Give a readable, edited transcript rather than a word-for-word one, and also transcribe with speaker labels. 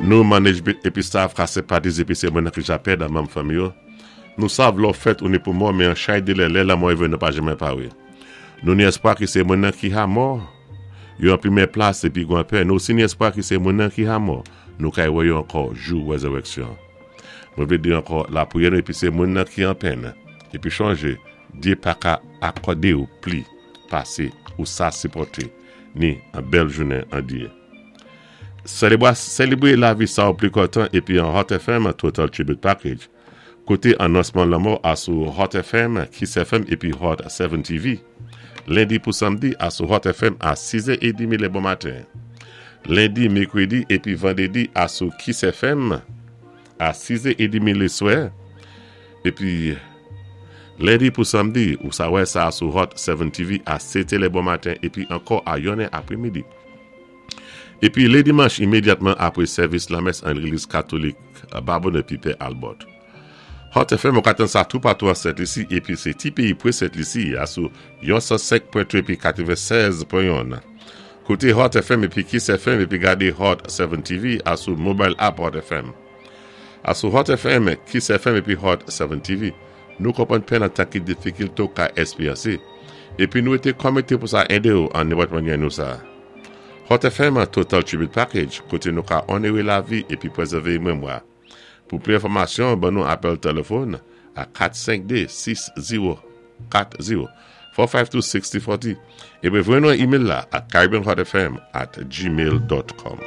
Speaker 1: Nou, management épi staff ka senpatize épi sé moun ki ja pèd an manm fanmi yo. Nou sav lè ou fèt ou ni pou mò, men an chay delè lè lanmò rivé nou pa janmen pawé. Nou ni èspwa ki sé moun ki ha mò yo an pwimyè plas épi gwan pè. Nou osi ni èspwa ki sé moun ki ha mò nou kay wè yo ankò jou wèzèrèksyon. Mwen vlé di ankò lapriyè nou épi sé moun ki an pèn épi chonjé Dyé pa ka akòdé ou pli pasé ou sa sipòté ni an bèl jounen an Dyé. Selebre lavi sa ou pli kontan epi an Hot FM Total Tribute Package. Koute anonsman lanmò a sou Hot FM, Kiss FM epi Hot 7 TV. Lendi pou Samdi a sou Hot FM a 6 è edmi lè bon maten. Lendi, Mekredi epi Vandredi a sou Kiss FM a 6 è edmi leswè. Epi Lendi pou Samdi ou sa wè sa sou Hot 7 TV a 7 è lè bon maten epi ankò a 1 è apremidi. Epi lé dimanch imedyatman apwé sèvis lamès an legliz katolik Babonè pi Pè Albòt. Hot FM ou ka tann sa toupatou an Sent Lisi epi sé ti peyi pwé Sent Lisi a sou yon 105 pwen 2 epi 96 pwen yonn. Koute Hot FM epi Kiss FM epi gade Hot 7 TV a sou mobile app Hot FM. A sou Hot FM, Kiss FM epi Hot 7 TV. Nou konprann pèn an tan ki difikilte ou ka esperyanse epi nou été kòmite pou sa ede ou an nenpòt mannyè nou sa. Hot FM Total Tribute Package, koté nou ka onéré lavi épi pwézèvé memwa. Pou pli enfòmasyon, ban nou apèl tèlèfòn a 452 6040 452 6040 épi voyé nou yon email la a caribbeanhotfm@gmail.com.